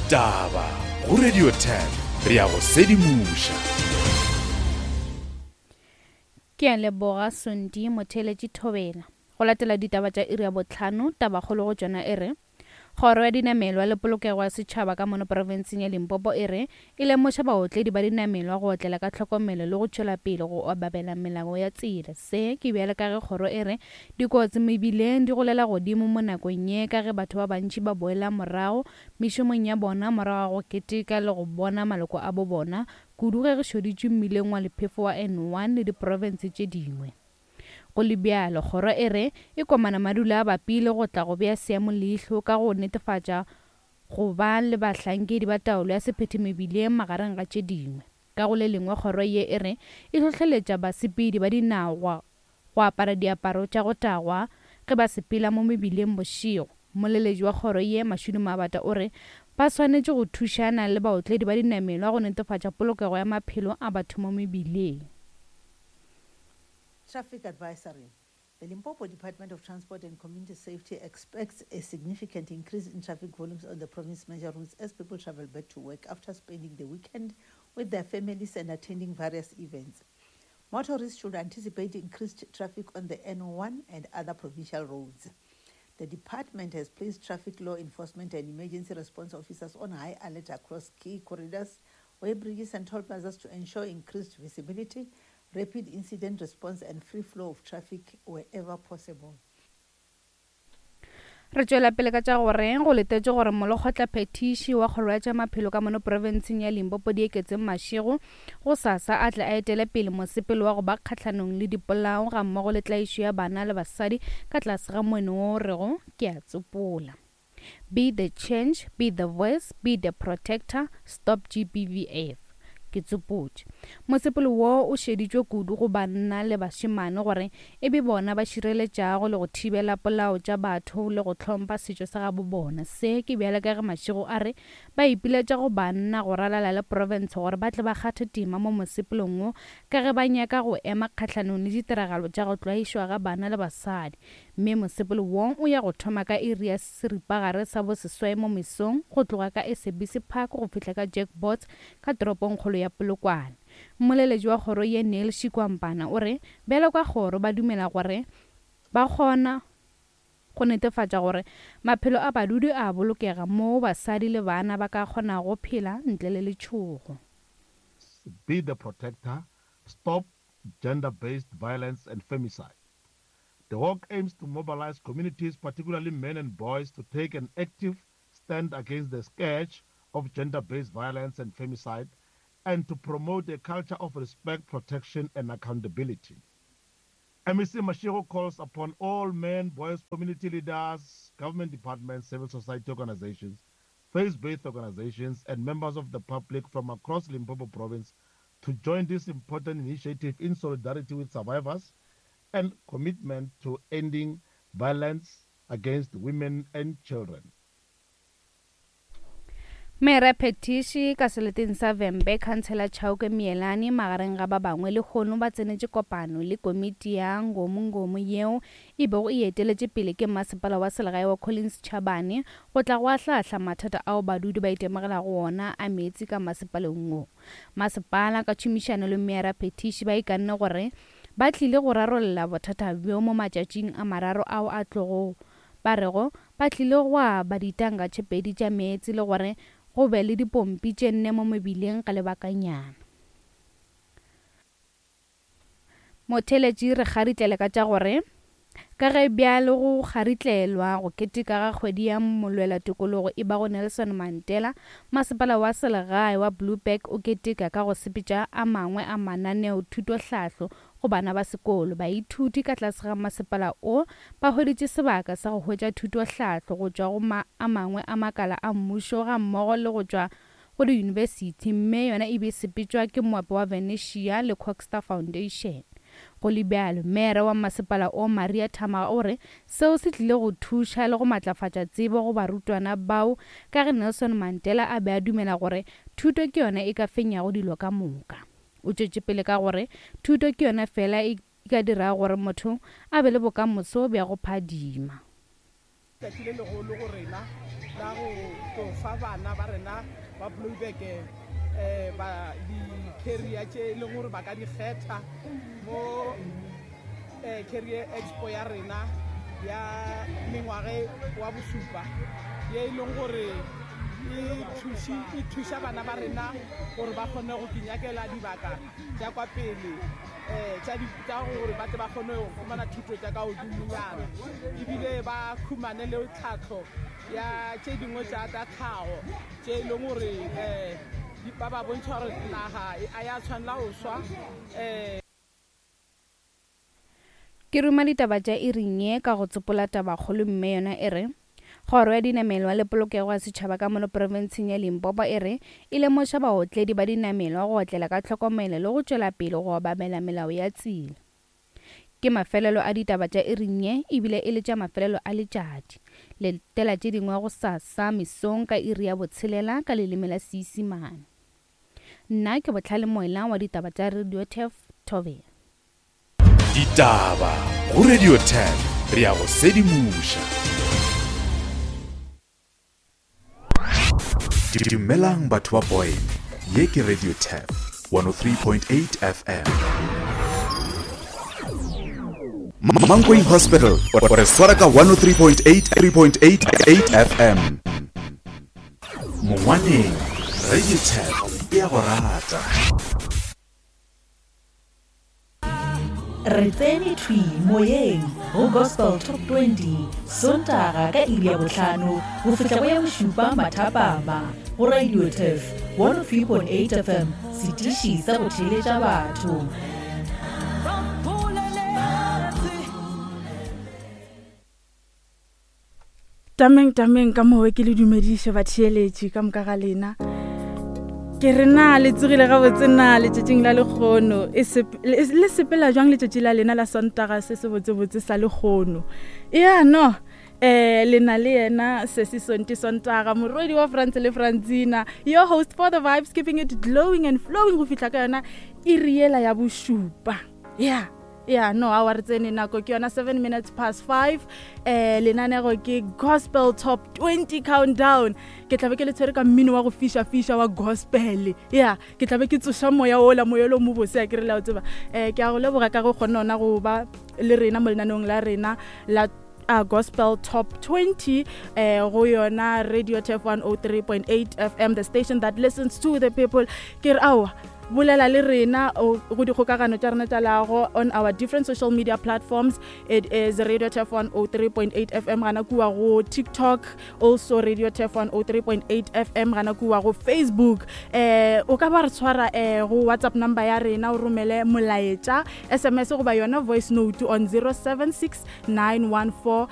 Ditaba go Radio 10 re ya go sedimoša. Ke a leboga Sondi Motheeletši Thobela. Go latela ditaba tša iri ya bohlano, tabakgolo go tšona e re, Kgoro ya Dinamelwa le Polokego ya Setšhaba ka mono profenseng ya Limpopo e re e lemoša baotledi ba dinamelwa go otlela ka tlhokomelo le go tšwela pele go obamela melao ya tsela. Se ke bjale ka ge kgoro e re dikotsi mebileng di golela godimo mo nakong ye ka ge batho ba bantši ba boela morago mešomong ya bona morago ga go keteka le go bona maloko a bo bona kudu ge re šoditšwe mmileng wa lephefo wa N1 le diprofense tše dingwe. Go le bjalo, kgoro e re e komana madula a bapile go tla go bea seemo leihlo ka go netefatša go ba le bahlankedi ba taolo ya sephetho mebileng magareng ga tše dingwe. Ka go le lengwe kgoro ye e re e hlohleletša basepedi ba dinao go apara diaparo tša go tagwa ge ba sepela mo mebileng bošego. Mmoleletši wa kgoro ye, Mashudu Mabata o re ba swanetše go thušana le baotledi ba dinamelwa go netefatša polokego ya maphelo a batho mo mebileng. Traffic advisory. The Limpopo Department of Transport and Community Safety expects a significant increase in traffic volumes on the province major routes as people travel back to work after spending the weekend with their families and attending various events. Motorists should anticipate increased traffic on the N1 and other provincial roads. The department has placed traffic law enforcement and emergency response officers on high alert across key corridors, weighbridges and toll plazas to ensure increased visibility, rapid incident response and free flow of traffic wherever possible. Re tšwela pele ka tša gore go letetšwe gore molekgotlaphethiši wa kgoro ya tša maphelo ka mono profenseng ya Limpopo Dieketseng Mashego gosasa a tle a etele pele mosepelo wa go ba kgahlanong le dipolao gammogo le tlaišo ya bana le basadi ka tlase ga moeno wo o rego ke a tsopola. Be the change, be the voice, be the protector, stop GBVF. Ke tsopotše. Mosepelo wo o šeditšwe kudu go banna le bašemane gore e be bona ba šireletšago le go thibela polao tša batho le go hlompha setšo sa gabo bona. Se ke bjale ka ge Mashego a re ba ipiletša go banna go ralala le profense gore ba tle ba kgathe tema mo mosepelong wo ka ge ba nyaka go ema kgahlanong le ditiragalo tša go tlwaišwa ga bana le basadi Mme mosepelo wo o ya go thoma ka iri ya seripagare sa boseswai mo mesong go tloga ka SABC Park go fihla ka Jack Bots ka toropongkgolo ya Polokwane. Mmoleletši wa kgoro ye Neil Shikwampana o re bjalo ka kgoro ba dumela gore ba kgona go netefatša gore maphelo a badudi a bolokega moo basadi le bana ba ka kgonago phela ntle le letšhogo. Be the protector, stop gender-based violence and femicide. The walk aims to mobilize communities, particularly men and boys, to take an active stand against the scourge of gender-based violence and femicide and to promote a culture of respect, protection and accountability. MEC Mashego calls upon all men, boys, community leaders, government departments, civil society organizations, faith-based organizations and members of the public from across Limpopo province to join this important initiative in solidarity with survivors and commitment to ending violence against women and children. Mera Phetiši ka seleteng sa Vhembe, Khansela Chauke Mielani magareng ga ba bangwe lehono ba tsenetše kopano le komiti ya Ngomu-Ngomu yeo e bego e eteletše pele ke masepala wa selegae wa Collins Chabane go tla go ahlaahla mathata ao badudi ba itemogelago wona a meetse ka masepaleng wo. Masepala ka tšhomišano le Mera Phetiši ba ikanne gore Ba tlile go rarolla bothata bjo mo matšatšing a mararo ao a tlogo. Ba rego ba tlile go aba ditanka tše pedi tša meetse le gore go be le dipompi tše nne mo mebileng ka lebakanyana. Motheeletši re kgaritlele ka tša gore Ka ge bjale go kgaritlelwa go keteka ga kgwedi ya molwelatokologo e bago Nelson Mandela, Masepala wa Selegae wa Blouberg o keteka ka go sepetša a mangwe a mananeo thutohlahlo go bana ba sekolo. Baithuti ka tlase ga masepala o ba hweditše sebaka sa go hwetša thutohlahlo go tšwa go a mangwe a makala a mmušo gammogo le go tšwa go diyunibesithi mme yona e be e sepetšwa ke Moepo wa Venetia le Coxter Foundation. Go le bjalo, Meere wa masepala o Maria Thamaga o re seo se tlile go thuša le go matlafatša tsebo go barutwana bao ka ge Nelson Mandela a be a dumela gore thuto ke yona e ka fenyago dilo ka moka. O tšwetše pele ka gore thuto ke yona fela e ka dirago gore motho a be le bokamoso bja go phadima. Letšatši le legolo go rena la go tlo fa bana ba rena ba Blouberg ba di-career tše e leng gore ba ka di kgetha mo Career Expo ya rena ya mengwage wa bosupa ye e leng gore e thuša bana ba rena gore ba kgone go kinyakela dibaka tša kwa pele um tša gore ba tle ba kgone go humana thuto tša ka godimonyana ebile ba khumane le tlhahlo ya tše dingwe tša tša tlhago tše e leng gore um ba ba bontšha gore naga a ya tshwanela go swa um. Ke ruma ditaba tša iring ye ka go tsopola tabakgolo mme yona e re, Kgoro ya Dinamelwa le Polokego ya Setšhaba ka mono profenseng ya Limpopo e re e lemoša baotledi ba dinamelwa go otlela ka tlhokomelo le go tšwela pele go obamela melao ya tsela. Ke mafelelo a ditaba tša iring ye ebile e le tša mafelelo a letšatši. Letela tše dingwe gosasa mesong ka iri ya botshelela ka leleme la Seisimane. Nna ke Bohlale Moela wa ditaba tša Radio Turf Thobela. Ditaba go Radio 10 re a go sedimoša. Dumelang batho ba Boyne, ye ke Radio 10 103.8 FM. Mankweng Hospital o re swara ka 103.8 3.8 FM. Mongwaneng Radio 10 e a go rata. Re tsene thwi moyeng go Gospel Top 20 Sontaga ka iri ya bohlano go fihla go ya bošupa mathapama go Radio Turf 103.8 FM, setiši sa go theeletša batho. Tameng tameng ka mowe ke le dumediše batheeletši ka moka ga lena. Ke re na le tsogile gabotse na letšatšing la lekgono e le sepela jwang letšatši la lena la Sontaga se se botsebotse sa lekgono. Ya no eh le na le yena sesi Sonti Sontaga morwedi wa France le Francina your host for the vibes keeping it glowing and flowing go fihla ka yona iri yela ya bošupa. Ya ya no awa re tsene nako ke yona 7 minutes past 5 eh lenanego ke gospel top 20 countdown ke tlabe ke le tshwere ka mmino wa go fiša fiša wa gospel ya ke tlabe ke tsoša moya ola moya lo mo bose a ke re la o tseba eh ke a go leboga ka go kgona ona go ba le rena mo lenaneong la rena la uh, gospel top 20 eh go yona radio tf 103.8 fm the station that listens to the people ke re aowa bolela le rena go dikgokagano tša rena tša leago on our different social media platforms it is radio tf 103.8 fm gana kua go tiktok also radio tf 103.8 fm gana kua go facebook eh o ka ba re tshwara eh go whatsapp number ya rena o romele molaetša sms goba yona voice note on 076 914